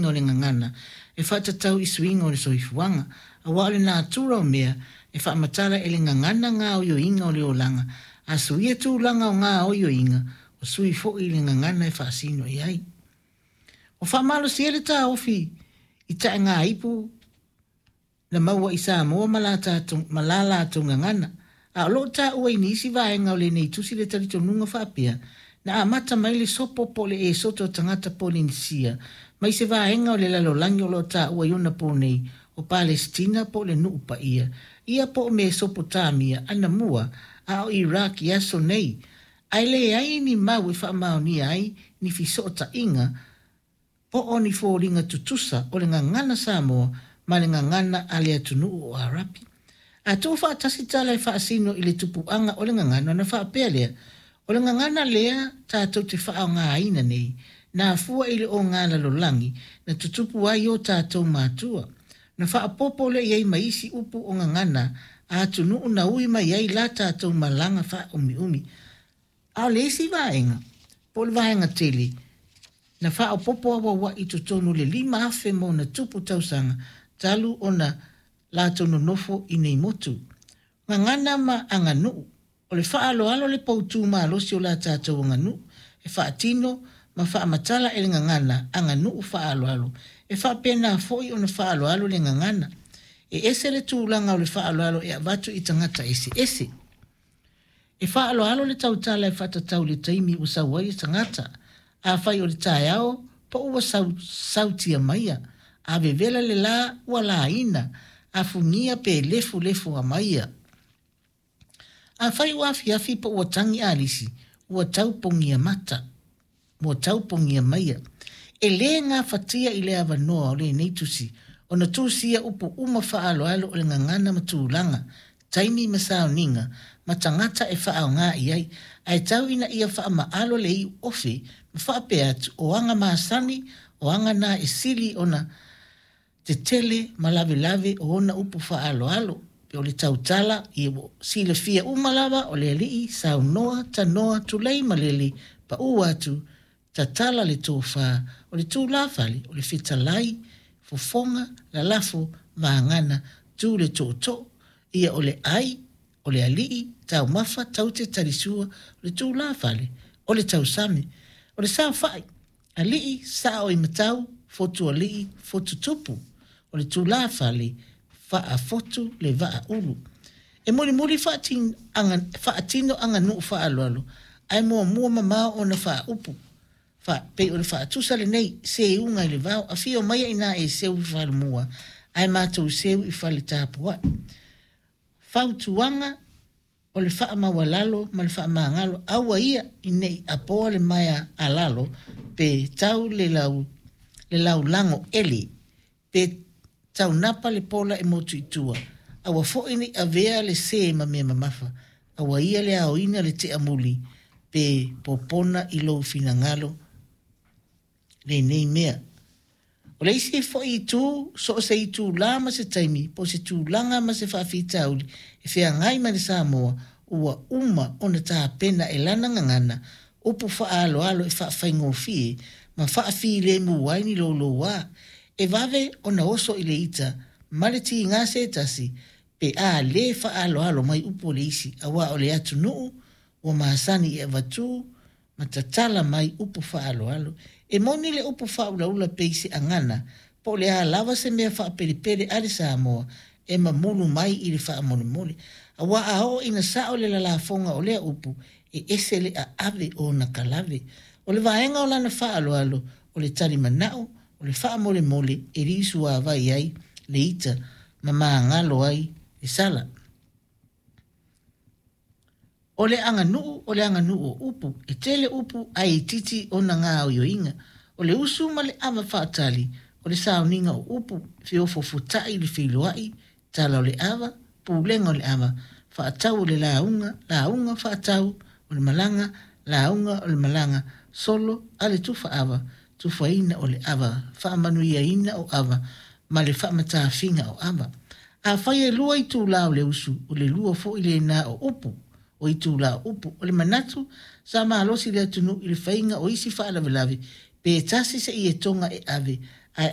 gaoioiga o le gagana e faatatau i suiga o le soifuaga, aua o le natura o mea e faamatala e le gagana gaoioiga o le olaga, a suia tulaga o gaoioiga, ua sui foi le gagana e faasino i ai. Ua faamalosia le taofi i taegaipu na maua i Samoa ma la latou gagana, a o lo o taua i nisi vaega o lenei tusi le talitonuga faapea, na amata mai le sopo po o le esoto a tagata Polenisia mai se vaega o le lalolagi o lo o taua i ona po nei o Palesitina po o le Nuu Paia ia po o Mesopotamia anamua a o Iraq i aso nei, ae leai ni mau e faamaonia ai ni fesootaiga po o ni foliga tutusa o le gagana Samoa ma le gagana a le atunuu o Arapi. A tuufaatasi tala e faasino i le tupuaga o le gagana ona faapea lea, o le gagana lea tatou te faaaogaina nei, na afua i le oga lalolagi na tutupu ai o tatou matua. Na faaopoopo lea i ai ma isi upu o gagana a atunuu na ui mai ai la tatou malaga faaumiumi. A o le isi vaega, po o le vaega tele, na faaopoopo auauai i totonu o le 5,000 ma ona tupu tausaga talu ona latou nonofo i nei motu. Gagana ma aganuu. O le faaaloalo le poutu malosi o la tatou aganuu e faatino ma faamatala e le gagana aganuu faaaloalo. E faapena foi ona faaaloalo le gagana. E ese le tulaga o le faaaloalo e avatu i tagata eseese. E faaaloalo le tautala e faatatau i le taimi ua sau ai le tagata. Afai o le taeao po ua sau sautia maia, a vevela le la ua laina, a fugia pe lefulefu maia. Afai ua afiafi po ua tagi alisi, ua tau pogia mata, ua tau pogia maia. E lē gafatia i le avanoa o lenei tusi ona tusia upu uma faaaloalo o le gagana ma tulaga, taimi ma sauniga, ma tagata e faaaoga i ai, ae tau ina ia faamaalo le iu ofe ma faapea atu o aga masani o aga na e sili ona tetele ma lavelave o ona upu faaaloalo. Pe o le tautala, ia ua silafia uma lava o le alii, saunoa, tanoa, tulei ma lele, paū atu, tatala le tofa, o le tulafale, o le fetalai, fofoga, lalafo, vagana, tu le tootoo, ia o le ai, o le alii, taumafa, taute, talisua, o le tulafale, o le tausami, o le saofai, alii, sao i matau, fotu alii, fotu tupu, o le tulafale, faafotu le vaaulu. E mulimuli faatino aganuu faaaloalo, ae muamua mamao ona faaupu. Pei o le faatusa lenei, seuga i le vao, afio maia ina e seu i falemua, ae matou seu i fale tapuai. Fautuaga o le faamaualalo ma le faamagalo, aua ia ne i apoa le maea alalo, pe tau le laulago ele, pe taunapa le pola e motu i tua, aua foi ne i avea le sē ma mea mamafa, aua ia le aoina le teamuli, pe popona i lou finagalo lenei mea. O le isi foi itu, so o se itulā ma se taimi, po o se tulaga ma se faafitauli e feagai ma le Samoa, ua uma ona tapena e lana gagana upu faaaloalo e faafaigofie ma faafilemu ai ni loulouā. E vave ona oso i le ita ma le tiga se tasi pe a lē faaaloalo mai upu o le isi, aua o le atunuu ua masani e avatu ma tatala mai upu faaaloalo. E moni le upu faaulaula pei se agana, po o le a lava se mea faapelepele a le Samoa e mamulu mai i le faamolemole. Aua a oo ina sao le lalafoga o lea upu, e ese le aave o ona kalave. O le vaega o lana faaaloalo, o le talimanao, o le faamolemole e liusuavai ai le ita ma magalo ai le sala. O le aganuu o le aganuu o upu, e tele upu ae itiiti ona gaoioiga. O le usu ma le ava faatali, o le sauniga o upu, feofofotai le feiloai, tala o le ava, pulega o le ava, faatau o le lauga, lauga faatau o le malaga, lauga o le malaga, solo a le tufa ava, tufaina o le ava, faamanuiaina o ava, ma le faamatafiga o ava. Afai e lua itulā o le usu, o le lua foi lena o upu, o itulā o upu. O le manatu sa malosi le atunuu i le faiga o isi faalavelave, pe tasi se ietoga e ave,